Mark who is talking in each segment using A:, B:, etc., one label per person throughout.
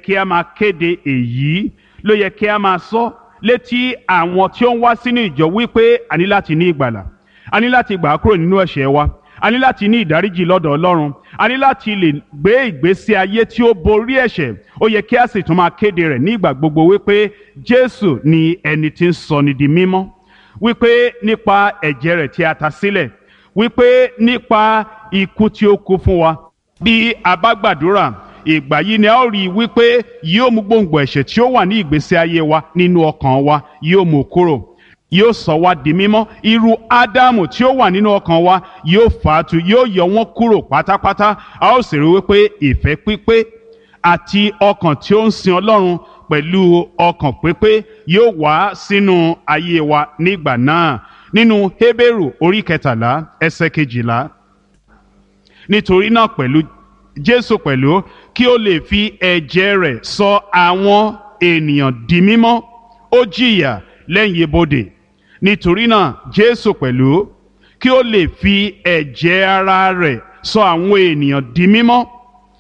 A: Kí a máa kéde èyí ló yẹ kí a máa sọ létí àwọn tí ó ń wá sínú ìjọ wípé a ní láti ní ìgbàlà, a ní láti gbà á kúrò nínú ẹ̀ṣẹ̀ wa, a ní láti ní ìdáríjì lọ́dọ̀ Ọlọ́run, a ní láti lè gbé ìgbésí ayé tí ó borí ẹ̀ṣẹ̀. Ó yẹ kí a sì tún máa kéde rẹ̀ ní ìgbà gbogbo wípé Jésù ni ẹni tí ń sọni di mímọ́, wípé nípa ẹ̀jẹ̀ rẹ̀ tí a ta sílẹ̀, wípé nípa ikú tí ó kú fún wa, bí a bá gbàdúrà, ìgbà yìí ni a ó rí i wípé yóò mú gbòǹgbò ẹ̀ṣẹ̀ tí ó wà ní ìgbésí ayé wa nínú ọkàn wa, yóò mú kúrò, yóò sọ wá di mímọ́. Irú Ádámù tí ó wà nínú ọkàn wa yóò fà á tu, yóò yọ wọ́n kúrò pátápátá. A ó sì rí wípé ìfẹ́ pípé àti ọkàn tí ó ń sin Ọlọ́run pẹ̀lú ọkàn pípé yóò wá sínú ayé wa nígbà náà. Nínú Hébérù orí 13 ẹsẹ̀ 12, nítorí náà pẹ̀lú Jésù pẹ̀lú kí ó lè fi ẹ̀jẹ̀ rẹ̀ sọ àwọn ènìyàn di mímọ́, ó jìyà lẹ́yìn ibodè. Nítorí náà Jésù pẹ̀lú kí ó lè fi ẹ̀jẹ̀ ara rẹ̀ sọ àwọn ènìyàn di mímọ́,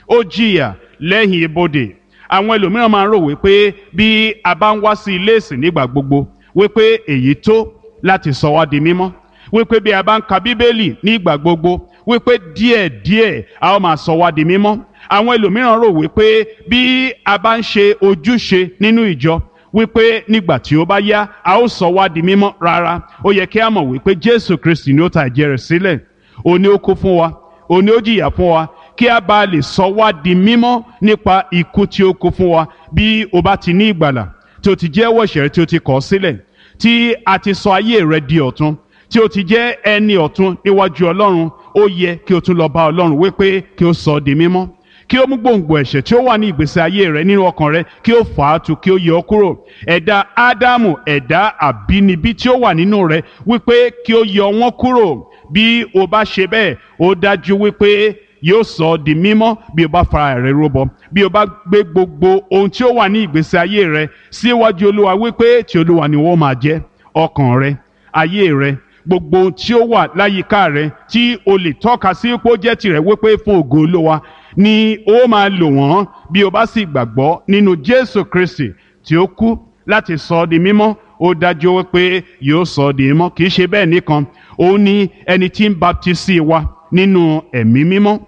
A: ó jìyà lẹ́yìn ibodè. Àwọn ẹlòmíràn máa ń rò wípé bí a bá ń wá sí ilé ìsìn nígbà gbogbo, wípé èyí tó láti sọ wá di mímọ́, wípé bí a bá ń ka Bíbélì nígbà gbogbo, wípé díẹ̀díẹ̀ a ó máa sọ wá di mímọ́. Àwọn ẹlòmíràn rò wípé bí a bá ń ṣe ojúṣe nínú ìjọ, wípé nígbà tí ó bá yá a ó sọ wá di mímọ́. Rárá, ó yẹ kí a mọ̀ wípé Jésù Kristi ni ó ta ẹ̀jẹ̀ rẹ̀ sílẹ̀, òun ni ó kú fún wa, òun ni ó jìyà fún wa, kí a bá lè sọ wá di mímọ́ nípa ikú tí ó kú fún wa. Bí o bá ti ní ìgbàlà, tí o ti jẹ́wọ́ ẹ̀ṣẹ̀ rẹ tí o ti kọ̀ ọ́ sílẹ̀, tí a ti sọ ayé rẹ di ọ̀tun, tí o ti jẹ́ ẹni ọ̀tun níwájú Ọlọ́run, ó yẹ kí o tún lọ bá Ọlọ́run wípé kí o sọ ọ́ di mímọ́, kí ó mú gbòǹgbò ẹ̀ṣẹ̀ tí ó wà ní ìgbésí ayé rẹ nínú ọkàn rẹ, kí ó fà á tu, kí ó yọ ọ́ kúrò. Ẹ̀dá Ádámù, ẹ̀dá àbínibí tí ó wà nínú rẹ, wípé kí ó yọ wọ́n kúrò. Bí o bá ṣe bẹ́ẹ̀, ó dájú wípé yóò sọ ọ́ di mímọ́. Bí o bá fara rẹ rúbọ, bí o bá gbé gbogbo ohun tí ó wà ní ìgbésí ayé rẹ síwájú Olúwa wípé ti Olúwa ni wọ́n máa jẹ́, ọkàn rẹ, ayé rẹ, gbogbo ohun tí ó wà láyìíká rẹ tí o lè tọ́ka sí pé ó jẹ́ tirẹ̀, wípé fún ògo Olúwa ni ó máa lò wọ́n. Bí o bá sì gbàgbọ́ nínú Jésù Kristi tí ó kú láti sọ ọ́ di mímọ́, ó dájú wípé yóò sọ ọ́ di mímọ́. Kì í ṣe bẹ́ẹ̀ nìkan, òun ni ẹni tí ń baptisi wa nínú Ẹ̀mí Mímọ́,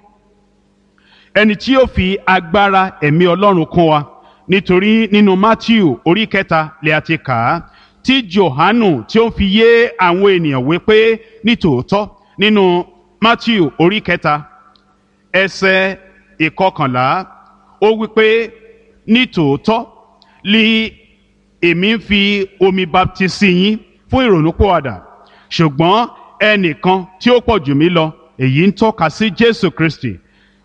A: ẹni tí yóò fi agbára ẹ̀mí Ọlọ́run kún wa. Nítorí nínú Mátíù orí 3 lè a ti kà á tí Jòhánù tí ó ń fi yé àwọn ènìyàn wípé nítòótọ́, nínú Mátíù orí 3 ẹsẹ̀ 11, ó wípé nítòótọ́ li èmi ń fi omi baptisi yín fún ìrònúpìwàdà, ṣùgbọ́n ẹnìkan tí ó pọ̀ jù mí lọ, èyí ń tọ́ka sí Jésù Kristi,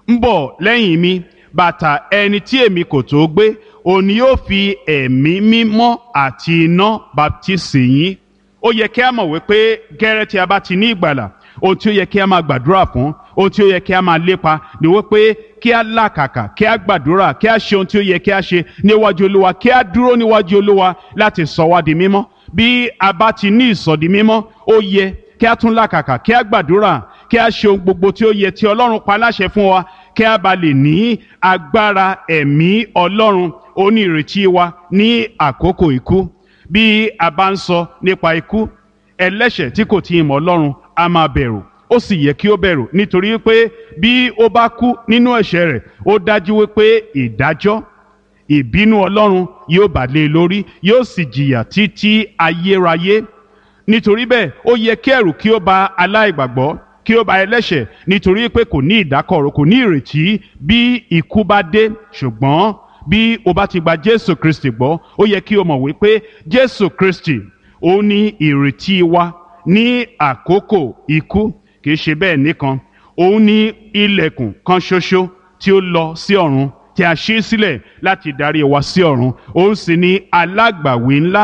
A: ń bọ̀ lẹ́yìn mi, bàtà ẹni tí èmi kò tó gbé, òun ni yóò fi Ẹ̀mí Mímọ́ àti iná baptisi yín. Ó yẹ kí a mọ̀ wípé gẹ́rẹ́ tí a bá ti ní ìgbàlà, ohun tí ó yẹ kí a máa gbàdúrà fún, ohun tí ó yẹ kí a máa lépa ni wípé kí a làkàkà, kí a gbàdúrà, kí a ṣe ohun tí ó yẹ kí a ṣe níwájú Olúwa, kí a dúró níwájú Olúwa láti sọ wá di mímọ́. Bí a bá ti ní ìsọdi mímọ́, ó yẹ kí a tún làkàkà, kí a gbàdúrà, kí a ṣe ohun gbogbo tí ó yẹ tí Ọlọ́run pa láṣẹ fún wa, kí a bá lè ní agbára ẹ̀mí Ọlọ́run. Ó ní ìrètí wa ní àkókò ikú. Bí a bá ń sọ nípa ikú, ẹlẹ́ṣẹ̀ tí kò tí ì mọ̀ Ọlọ́run a máa bẹ̀rù. Ó sì yẹ kí ó bẹ̀rù, nítorí pé bí ó bá kú nínú ẹ̀ṣẹ̀ rẹ̀, ó dájú wípé ìdájọ́ ìbínú Ọlọ́run yóò bà lé e lórí, yóò sì jìyà títí ayérayé. Nítorí bẹ́ẹ̀, ó yẹ kí ẹ̀rù kí ó bà aláìgbàgbọ́, kí ó bà ẹlẹ́ṣẹ̀, nítorí pé kò ní ìdákọ̀ró, kò ní ìrètí bí ikú bá dé. Ṣùgbọ́n bí o bá ti gba Jésù Kristi gbọ́, ó yẹ kí o mọ̀ wípé Jésù Kristi ó ní ìrètí wa ní àkókò ikú. Kì í ṣe bẹ́ẹ̀ nìkan, òun ní ilẹ̀kùn kan ṣoṣo tí ó lọ sí ọ̀run, tí a ṣí sílẹ̀ láti darí wa sí ọ̀run. Òun sì ní alágbàwí ńlá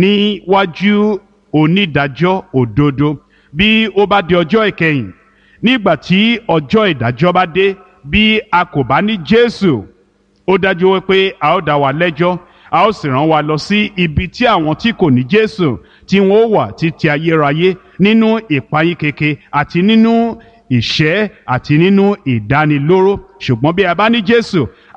A: níwájú onídàájọ́ òdodo. Bí ó bá di ọjọ́ ìkẹyìn, nígbà tí ọjọ́ ìdájọ́ bá dé, bí a kò bá ní Jésù, ó dájú wípé a ó dá wa lẹ́jọ́, a ó sì rán wa lọ sí ibi tí àwọn tí kò ní Jésù tí wọn ó wà títí ayérayé, nínú ìpayín keke àti nínú ìṣẹ́ àti nínú ìdánilóró. Ṣùgbọ́n bí a bá ní Jésù,